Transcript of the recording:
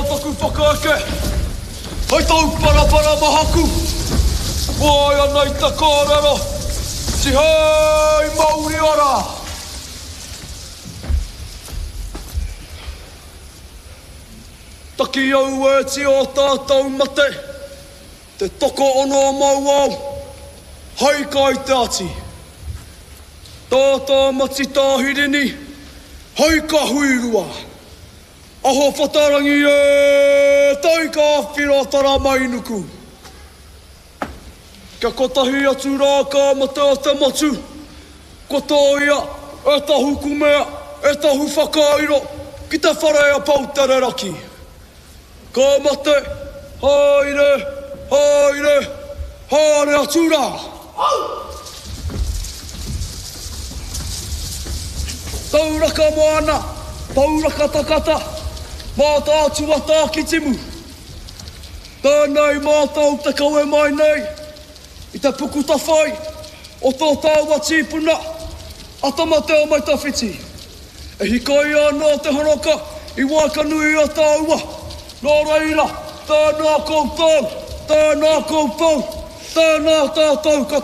taku whakaeke, hei tauparapara mahaku, waea nei te kōrero, tihei mauri ora! Taki auēti ō tātou mate, te tokoono mau au, hai kai te ati. Tātā mati tāhirini, hai ka huirua. Aho whatarangi e, tai ka whiro taramainuku. Kia kotahi atu rā ka mate o te motu, kua tōia e tahu kumea, e tahu whakairo ki te whare a Poutereraki. Ka mate, haere, haere, haere atu rā! Tauraka moana, tauraka takata, Mātaatua Tākitimu. Tēnei mātou te kawe mai nei i te puku tawhai o tō tāua tīpuna a Tamateamaitawhiti. E hikaia ana te horoka i waekanui i a tāua, nō reira, tēnā koutou, tēnā koutou, tēnā tātou katoa.